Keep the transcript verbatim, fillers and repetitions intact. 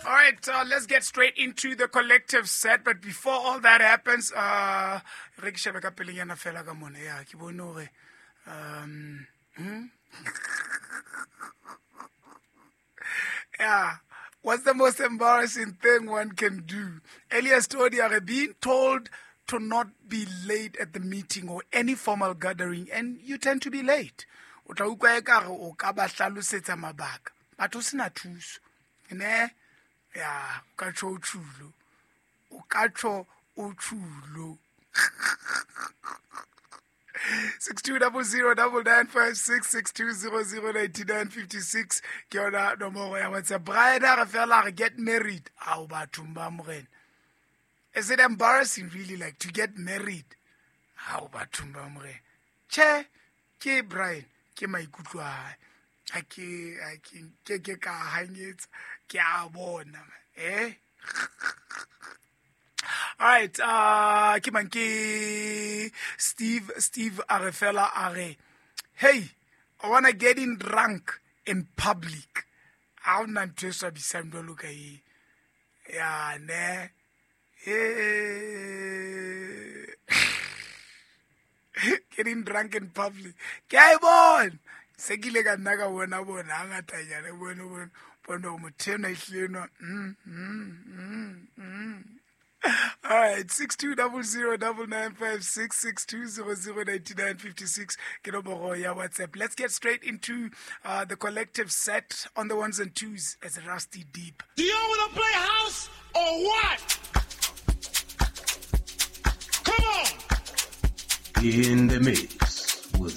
All right, uh, let's get straight into the collective set. But before all that happens, uh, re ke shebe ka pelenyana fela ka mona. Ya, ke bone hore, um, hmm? Yeah. What's the most embarrassing thing one can do? Elias Todi are being told to not be late at the meeting or any formal gathering, and you tend to be late. O tla utlwa ekare o ka ba hlalosetsa mabaka, but o sena thuso. Ne? Ya, o ka tjho o tjhulo. O ka tjho o tjhulo. six two double zero double nine five six, six two zero zero ninety nine fifty six. Ke yona nomoro ya WhatsApp. Brian a re fela re get married. Ao bathong ba morena. Is it embarrassing really like to get married? Ao bathong ba morena. Che, ke Brian, ke maikutlo a hae. Ha ke, ha ke, ke ke ka hanyetsa, ke a bona, eh? All right, uh, ke mang ke Steve, Steve a re fela a re, hey, I wanna get in drunk in public. Ha hona ntho e swabisang jwalo ka e. Ya, ne. Eh. Getting drunk in public. Ke a e bona. Se ke ile ka nna ka bona bona, hangatanyana, bone, bone, bone hore motho enwa ehlile enwa, mm, mm, mm, mm. All right, six two double zero double nine five six, six two zero zero ninety nine fifty six. Ke nomoro ya WhatsApp. Let's get straight into, uh, the collective set on the ones and twos as Rusty Deep. Do you wanna play house or what? Come on! In the mix.